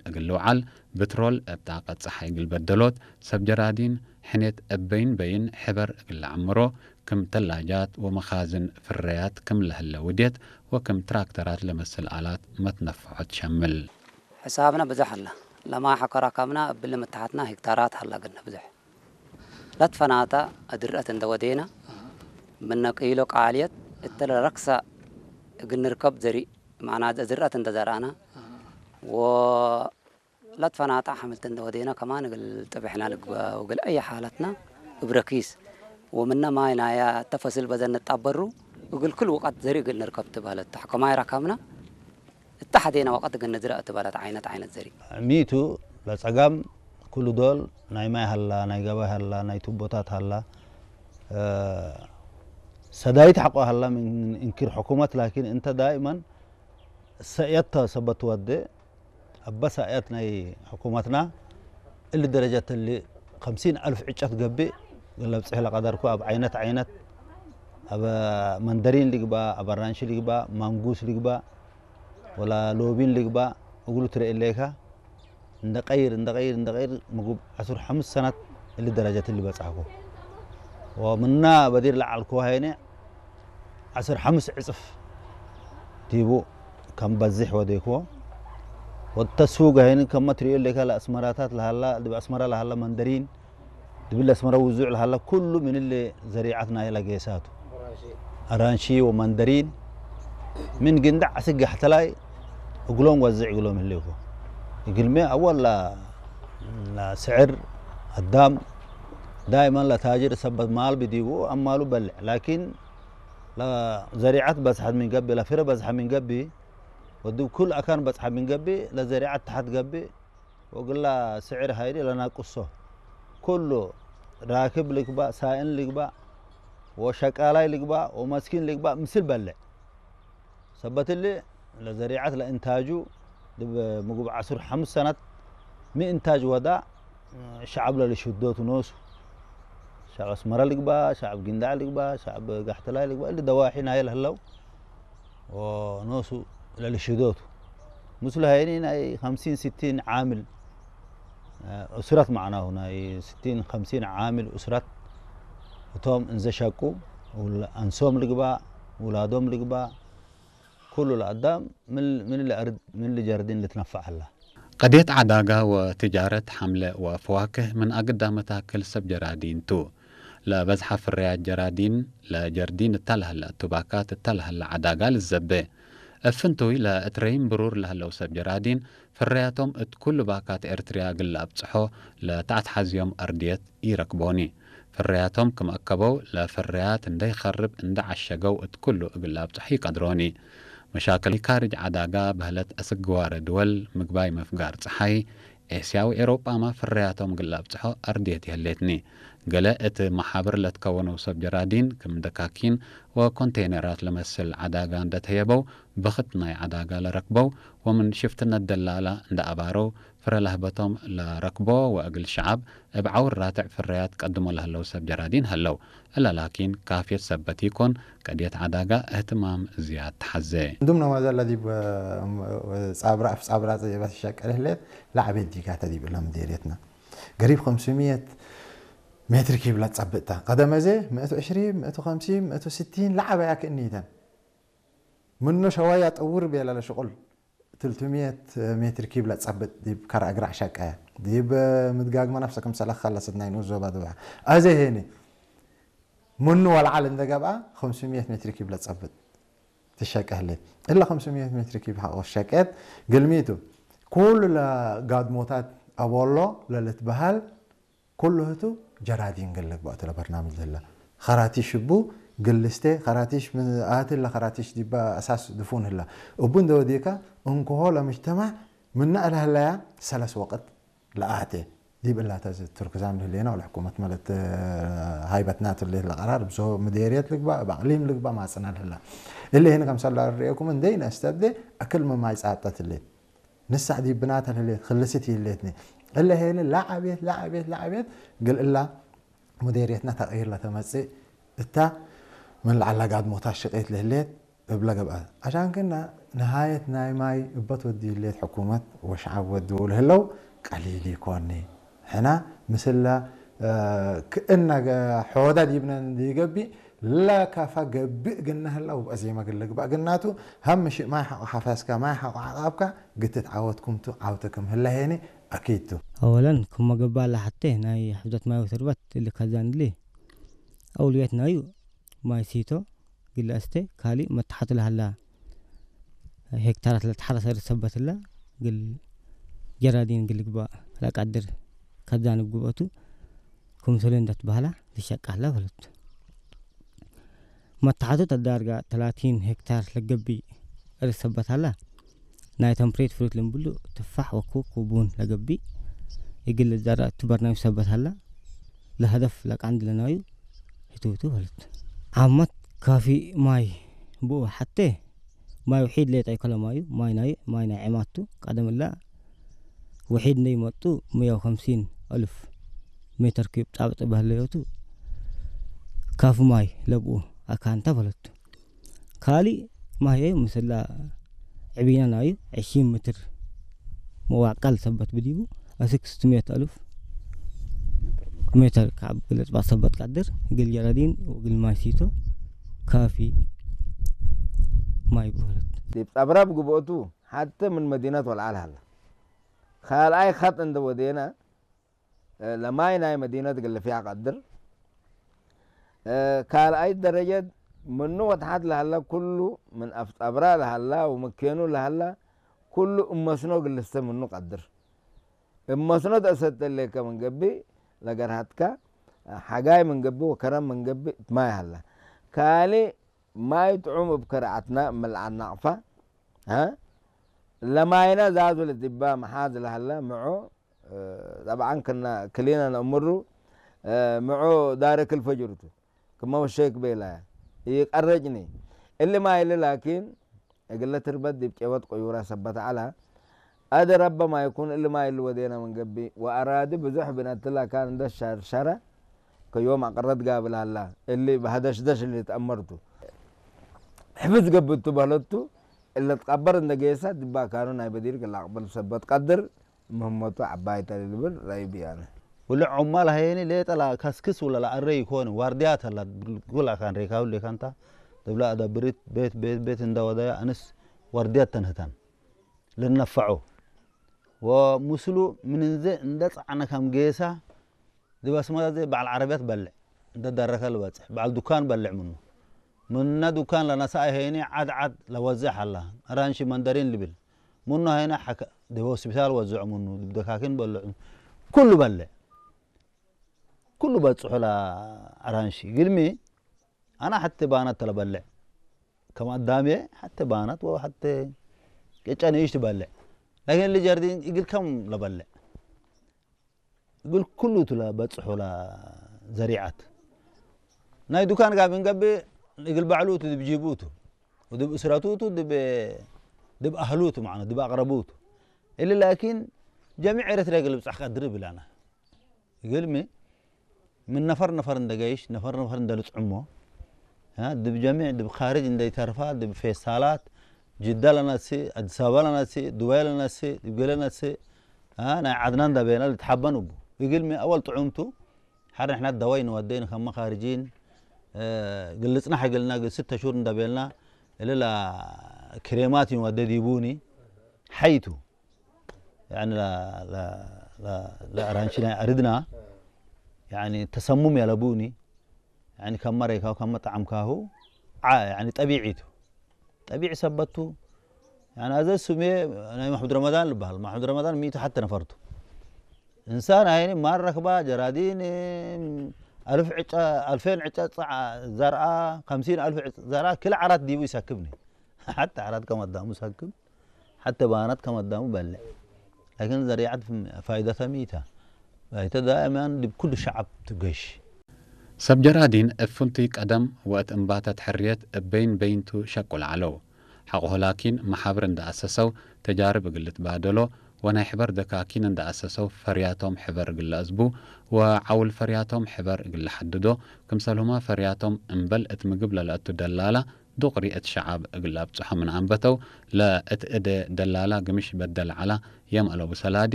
እግል ልውዓል ብትሮል እብጣ ቀጽሓይ እግል በደሎት ሰብ ጀራዲን ሕኔት እበይን በይን ሕበር እግል ለዐምሮ ክም ተላጃት ወመኻዝን ፍረያት ክም ለህለ ውዴት ወክም ትራክተራት ለመስል ኣላት መትነፍዖት ሸምል። ሕሳብና ብዙሕ ኣላ። ለማይ ሐከራ ካምና እብል ምትሓትና ሄክታራት ሃላ ግነ ብዙሕ። ለትፈናታ እድርአት እንደ ወዴና ምነ ቂሎ ቃልየት እተለ ረክሳ እግል ንርከብ ዘሪእ ማዕና ዝርአት እንተ ዘርአና ወለትፈናጣ ሐምልት እንደ ወዴና ከማን እግል ጥብሕና ልግበ ወግል አይ ሓለትና እብረኪስ ወምነ ማይ ናያ ተፈስል በዘን ንጣበሩ እግል ክል ወቀት ዘሪ እግል ንርከብ ትባለት ተሕከማይ ራካምና እታ ሐዴና ወቀት እግል ንዝረእ ትባለት ዓይነት ዓይነት ዘሪ። ሚቱ ለጸጋም ኩሉ ዶል ናይ ማይ ሃላ፣ ናይ ገባይ ሃላ፣ ናይ ቱቦታት ሃላ፣ እ፣ ሰዳይት ሐቆ ሃላ ምን እንክር ሕኩመት ላኪን እንተ ዳይመን ሰእየት ሰበት ወደ ኣበ ሰእየት ናይ ሕኩመትና እሊ ደረጃት እሊ ኸምሲን ኣልፍ ዕጨት ገብእ ለብጽሕ ለቀደርኩ ኣብ ዓይነት ዓይነት ኣብ መንደሪን ልግባእ፣ ኣብ ኣራንሺ ልግባእ፣ ማንጉስ ልግባእ፣ ወላ ሎቢን ልግባእ እግሉ ትርኢ ኣለይካ። እንደቀይር፣ እንደቀይር፣ እንደቀይር ምግብ ዓስር ሓሙስ ሰናት እሊ ደረጃት እሊ በጻሕኩ። ወምና በዲር ለዓልኩ ሃይነ ዓስር ሓሙስ ዕጽፍ ዲቡ ከም በዝሕ ወደይክዎ። ወተስውግ ሃይኒ ከመ ትርእዮ ኣለይካ ለኣስመራታት ለሃላ፣ ድብ ኣስመራ ለሃላ መንደሪን፣ ድብል ኣስመራ ውዙዕ ለሃላ ኩሉ ምን እሊ ዘሪዓት ናይ ለጌሳቱ። ኣራንሺ ወመንደሪን ምን ግንዳዕ ስጋሕ ተላይ እግሎም ወዝዕ እግሎም ህልይኮ። እግልሜ ኣወላ ስዕር ኣዳም ዳይመን ለታጅር ሰበት ማል ብዲቡ ኣማሉ በልዕ። ላኪን ለዘሪዓት በዝሐት ምን ገቢ፣ ለፍረ በዝሐ ምን ገቢ፣ ወድብ ኩል ኣካን በዝሐ ምን ገቢ፣ ለዘሪዓት ተሓት ገቢ፣ ወግላ ስዕር ሃይዲ ለናቁሶ። ኩሉ ራክብ ልግባእ፣ ሳእን ልግባእ፣ ወሸቃላይ ልግባእ፣ ወመስኪን ልግባእ፣ ምስል በልዕ። ሰበት እሊ ለዘሪዓት ለእንታጁ ድብ ምግብ ዓስር ሓሙስ ሰናት ሚ እንታጅ ወዳ ሸዓብ ለልሽዶቱ ኖሱ። ሸዓብ ኣስመራ ልግባ፣ ሸዓብ ጊንዳዕ ልግባ፣ ሸዓብ ጋሕተላይ ልግባ፣ እሊ ደዋሒ ናይ ለህለው ወኖሱ ለልሽዶቱ። ምስሉ ሃይኒ ናይ ኸምሲን ስቲን ዓምል፣ እ፣ ኡስራት ማዕናሁ ናይ ስቲን ኸምሲን ዓምል ኡስራት እቶም እንዘሸቁ ውል-፣ ኣንሶም ልግባ፣ ውላዶም ልግባ፣ ኩሉ ለኣዳም ምን፣ ምን ለኣርድ፣ ምን ለጀርዲን ልትነፋዕ ኣላ። ቀድየት ዓዳጋ ወትጃረት ሐምለ ወፈዋክህ ምን ኣግዳ መታክል ሰብ ጀራዲን ቱ። ለበዝሐ ፍርያት ጀራዲን ለጀርዲን እታ ለሀለ እቱባካት እታ ለሀለ ዓዳጋ ልዘቤ። እፍንቱይ ለእትረይም ብሩር ለሀለው ሰብ ጀራዲን ፍርያቶም እት ኩሉ ባካት ኤርትርያ እግል ለኣብጽሖ ለተኣትሓዝዮም ኣርድየት ኢረክቦኒ። ፍርያቶም ክም ኣከበው ለፍርያት እንደ ይኸርብ እንደ ዓሸገው እት ኩሉ እግል ለኣብጽሖ ይቀድሮኒ። መሻክል ካርጅ ዓዳጋ በህለት ኣስግዋረ ድወል ምግባይ መፍጋር ጸሓይ ኤስያዊ ኤሮጳማ ፍርያቶም እግል ለኣብጽሖ ኣርድየት ይህሌትኒ። ገለ እት መሓብር ለትከወነው ሰብ ጀራዲን ክም ደካኪን ወኮንቴይነራት ለመስል ዓዳጋ እንደ ተየበው ብኽት ናይ ዓዳጋ ለረክበው ወምን ሽፍትነት ደላላ እንደ ኣባረው ፍረ ለህበቶም ለረክቦ ወእግል ሸዓብ እብ ዓውር ራትዕ ፍረያት ቀድሞ ለህለው ሰብ ጀራዲን ሀለው። እለ ላኪን ካፍየት ሰበት ኢኮን ቀድየት ዓዳጋ እህትማም ዝያድ ተሓዘ። እንዱም ነማዘ ለዲብ ጻብራ፣ ጻብራ ጸየባት ይሸቀል ህሌት ለዓቤት ዲጋተ ዲብ እለ ምዴርየትና ገሪብ ኸምስምየት ሜትር ኪብ ለጸብጥታ። ቀደመ ዘ ምእቱ ዕሽሪ፣ ምእቱ ኸምሲ፣ ምእቱ ስቲን ለዓበያ ክእኒተን። ምኖ ሸዋያ ጠውር ቤላ ለሽቁል ትልቱምየት ሜትር ኪብ ለጸብጥ ዲብ ከረ እግራ ሸቀያ። ዲብ ምድጋግመ ነፍሰ ክምሰለ ኸለስት ናይ ንኡስ ዞባ ድባሕ። ኣዘ ሄኒ ምኑ ወልዓል እንደ ገብኣ ኸምስምየት ሜትር ኪብ ለጸብጥ ትሸቀ ህሌት። እለ ኸምስምየት ሜትር ኪብ ሐቆ ሸቀት ግልሚቱ ኩሉ ለጋድሞታት ኣቦሎ ለልትበሃል ኩሉ ህቱ ጀራዲን ግልግ ባእቱ ለበርናምጅ ህላ። ኸራቲሽ እቡ ግልስቴ ኸራቲሽ ምን ኣትለ ኸራቲሽ ዲባ ኣሳስ ድፉን ህላ። እቡ እንደ ወዴካ እንክሆ ለምጅተማዕ ምና እልህለያ ሰለስ ወቅት ለኣቴ። ዲብ እላተ ዚ ቱርክዛም ልህሌና ወለሕኩመት መለት ሃይበትና ትሌት ለቀራር ብዝሆ ምዴርየት ልግባ፣ እብ ኣቅሊም ልግባ ማጽና ልህላ። እለ ሄን ከምሰላ ርኤኩም እንደይ ነስተብዴ ኣክል መማይ ጻጠት ሌት። ንሳዕ ዲብ ብናተ ልህሌት ክልስት ይህሌትኒ። እለ ሄን ላዓቤት፣ ላዓቤት፣ ላዓቤት ግል እላ ሙዴርየትና ተቅይር ለተመጽእ እታ ምን ለዓላ ጋድሞታት ሽቄት ልህሌት እብለ ገብኣ። አሻን ክና ንሃየት ናይ ማይ እበት ወዲ ሌት ሕኩመት ወሽዓብ ወዲ ውል ህለው ቀሊል ይኮኒ። ሕና ምስላ ክእና ሖወዳ ዲብነን ይገቢ ለካፋ ገብእ ግና ህላ ውብአ ዜማ ግለ ግባእ ግናቱ ሃም ምሽእ ማይ ሓቆ ሓፋስካ ማይ ሓቆ ዓቃብካ ግትት ዓወትኩምቱ ዓውተ ክም ህላ ሄኒ ኣኪቱ። ኣወለን ክሞ ገባ ኣላ ሓቴ ናይ ሕፍዘት ማይ ወተርበት እልካ ዛንድሊ ኣውልየት ናዩ ማይ ሲቶ ግለ እስቴ ካሊ መታሓቱ ለሃላ ሄክታራት ለተሓረሰ ርሰበትላ ግል ጀራዲን ግል ግባ ለቃድር ከዛንብ ግብአቱ ክምሰሉ እንዳትባህላ ዝሸቃላ በለቱ። መታሓቱ ተዳርጋ ተላቲን ሄክታር ለገቢ ርሰበታላ ናይ ተምፕሬት ፍሩት ልምብሉ ትፋሕ ወኩ ኩቡን ለገቢ ይግል ዛራ ትበርናዊ ሰበታላ ለሀደፍ ለቃንድ ለናዩ ህትውቱ በለት። ዓመት ካፊ ማይ ብኡ ሓቴ ማይ ውሒድ ሌጣ ይከለማዩ ማይ ናይ ማይ ናይ ዕማቱ ቀደምላ ውሒድ እንደይመጡ ሙያው ከምሲን ኣልፍ ሜትር ኪዩብ ጣብጥ ባህለዮቱ ካፉ ማይ ለብኡ ኣካንታ በለቱ። ካሊ ማይ ምስላ ዕቢና ናዩ ዕሺ ምትር መዋቃል ሰበት ብዲቡ ኣስክስት ሜት ኣልፍ ሜትር ካብ ግለጽ ባሰበት ቀድር ግል ጀራዲን ወግል ማይ ሲቶ ካፊ ማይ ብህለት። ዲብ ጸብራብ ግብኦቱ ሓተ ምን መዲነት ወልዓል ሃላ። ካልኣይ ኸጥ እንደ ወዴና ለማይ ናይ መዲነት ግልፍያ ቀድር ካልኣይ ደረጀት ምኑ ወትሓት ለሃላ ኩሉ ምን ኣፍ ጸብራ ለሃላ ወመኬኑ ለሃላ ኩሉ እመስኖ ግልስተ ምኑ ቀድር እመስኖ ተእሰተሌከ ምን ገቢ ለገርሃትካ ሓጋይ ምን ገቢ ወከረም ምን ገቢ ማይ ሃላ ካሊ ማይ ጥዑም እብ ከርዓትና እምልዓናቕፋ ለማይና ዛዙ ለትባ መሓዝ ለሃላ ምዖ ጠብዓን ክና ክሊና ነእምሩ ምዖ ዳረክ ልፈጅርቱ ክመ ወሸክ ቤላ ይቀረጭኒ እሊ ማይ እሊ ላኪን እግለ ትርበት ዲብ ቄወት ቆዩራ ሰበት ዐላ ኣደ ረበ ማይኩን እሊ ማይ እሊ ወዴና ምን ገቢ ወአራዲ ብዙሕ ብነትላ ካን እንደ ሸርሸረ ከዮም አቅረት ጋብል ሀላ እሊ በሀደሽደሽ እሊ ተአመርቱ ሕፍዝ ገብቱ በህለቱ እለ ትቀበር እንደ ጌሳ ድባ ካኑ ናይ በዲር ግላ አቅበል ሰበት ቀድር ምህመቱ ዐባይ ተልልብል ረይብ ያነ። ውልዕ ዑማል ሀየኒ ሌጠላ ከስክስ ውለላ አረ ይኮን ዋርድያ ተላ ጉላ ካን ሬካው ሌካንታ ደብላ አዳብሪት ቤት ቤት ቤት እንዳ ወዳያ አንስ ዋርድያ ተንህታን ልነፈዑ ወምስሉ ምንንዘ እንደ ጸዓነ ከም ጌሳ ድባስማዘ በዓል ዓረብያት በልዕ እንደ ዳረከ ልበጽሕ በዓል ዱካን በልዕ ምኑ ምና ዱካን ለነሳ ሄኒ ዓድ ዓድ ለወዝሕ አላ አራንሺ መንደሪን ልብል ምኑ ሀይነ ሐከ ድብ ሆስፒታል ወዝዑ ምኑ ድብ ደካኪን በልዑ ኩሉ በልዕ ኩሉ በጽሑ ለአራንሺ ግልሚ አና ሐቲ ባናት ተለበልዕ ከም አዳሜ ሐቲ ባናት ወሐቲ ቅጨ ንእሽ ትበልዕ ላኪን ልጀርዲን እግል ከም ለበልዕ እግል ኩሉ ቱ ለበጽሑ ለዘሪዓት ናይ ዱካን ጋር ብንገብእ እግል ባዕሉ ቱ ድብ ጂቡ ቱ ወድብ እስረቱ ቱ ድብ አህሉ ቱ ማለት ድብ አቅረቡ ቱ እሊ ላኪን ጀሚዕ ኤረትርያ እግል ብጻሕ ቀድር ብላና እግልሚ ምን ነፈር ነፈር እንደገይሽ ነፈር ነፈር እንደልጽዕሞ ድብ ጀሚዕ ድብ ካርጅ እንደይተርፋ ድብ ፌስታላት ጅዳ ለነስእ ኣዲስ ኣበባ ለነስእ ዱባይ ለነስእ ድብ ገለ ነስእ ናይ ዓድና እንዳበየና ልትሓበን እቡ እግልሚ ኣወል ጥዑምቱ ሓደ ንሕና ደዋይ ንወደይ ንከመ ካርጂን ግልጽና ሓይገልና ግል ስተ ሹር እንዳበልና እልላ ክሬማት ንወደ ዲቡኒ ሓይቱ يعني لا لا لا لا أرانشي لا أردنا يعني تسمم يا لبوني يعني كم مرة كاو كم مطعم كاهو ع يعني طبيعيته طبيعي سبته يعني هذا سمي أنا محمد رمضان اللي بحال محمد رمضان ميته حتى نفرته إنسان هاي ما الركبة جرادين ألف عشا ألفين عشا زرعة خمسين ألف زرعة كل عرات ديبو يسكبني حتى عرات كم قدامه سكب حتى بانات كم قدامه بلع لكن زريعة فائدتها ميتة فائدتها دائما لكل شعب تقش ሰብ ጀራዲን እብ ፍንቱይ ቀደም ወእት እምባተት ሕርየት እብ በይን በይንቱ ሸቁል ዐለው። ሐቆሁ ላኪን መሓብር እንደ አሰሰው ተጃርብ እግል ልትባደሎ ወናይ ሕበር ደካኪን እንደ አሰሰው ፈርያቶም ሕበር እግል ለአዝቡ ወዐውል ፈርያቶም ሕበር እግል ለሐድዶ ክምሰልሁመ ፈርያቶም እምበል እት ምግብ ለለአቱ ደላላ ዱቕሪ እቲ ሸዓብ እግል ኣብጽሖ ምን ኣንበተው፣ ለእት እደ ደላላ ግምሽ በደል ዐላ፣ የም አለቡ ሰላዲ